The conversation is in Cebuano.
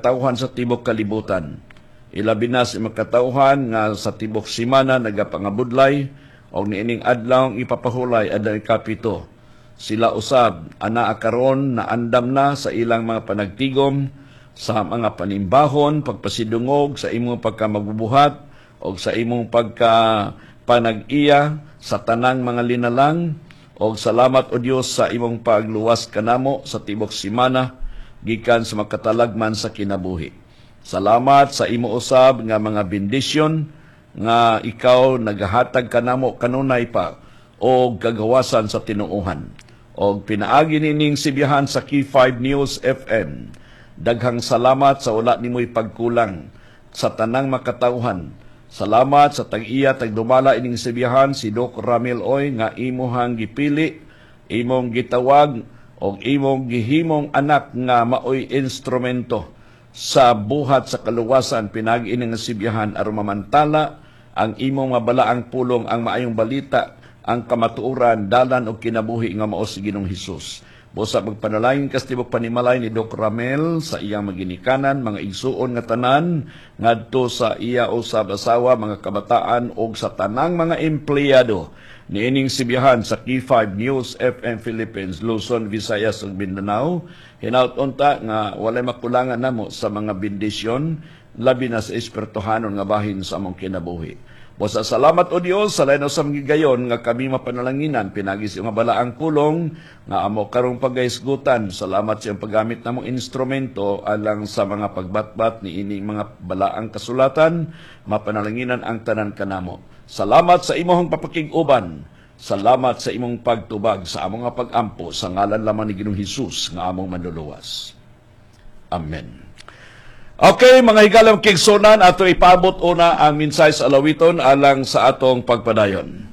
katawhan sa tibok kalibutan. Ilabi na sa imong katawhan nga sa tibok simana nagapangabudlay og niining adlaw ipapahulay, adlaw ikapito. Sila usab anaa karon na andam na sa ilang mga panagtigom, sa mga panimbahon, pagpasidungog sa imong pagkamagbubuhat og sa imong pagka panag-iya sa tanang mga linalang. Og salamat, o Dios, sa imong pagluwas kanamo sa tibok simana gikan sa makatalagman sa kinabuhi. Salamat sa imo usab nga mga bendisyon nga ikaw nagahatag kanamo kanunay pa og kagawasan sa tinuohan. Og pinaagi nining sibihan sa K5 News FM. Daghang salamat sa wala nimoy pagkulang sa tanang makatawhan. Salamat sa tag-iya, tagdumala ining sibihan, si Doc Ramil Oy, nga imuhang gipili, imong gitawag og imong gihimong anak nga maoy instrumento sa buhat sa kaluwasan pinaagi ini nga sibihan aron mamantala ang imong mabalaang pulong, ang maayong balita, ang kamatuoran, dalan og kinabuhi nga mao si Ginoong Hesus. Busa magpanalangin kas tibok panimalay ni Doc Ramel, sa iyang maginikanan, mga igsuon nga tanan, ngadto sa iya usab asawa, mga kabataan og sa tanang mga empleyado niining sibihan sa K5 News FM Philippines, Luzon, Visayas ug Mindanao. Hinaut unta nga walay makulangan namo sa mga bendisyon, labi na sa espirituhanon nga bahin sa among kinabuhi. Busa salamat, o Dios, sa lain sa mga gayon nga kami mapanalanginan pinaagi sa iyong balaang pulong nga amo karong pagahisgutan. Salamat sa iyong paggamit namong instrumento alang sa mga pagbatbat ni ining mga balaang kasulatan. Mapanalanginan ang tanan kanamo. Salamat sa imong papakig-uban. Salamat sa imong pagtubag sa among nga pag-ampo, sa ngalan lamang ni Ginoong Hesus nga among manluluwas. Amen. Okay, mga higalang kaigsuonan, ato ipaabot una ang mensahe sa alawiton alang sa atong pagpadayon.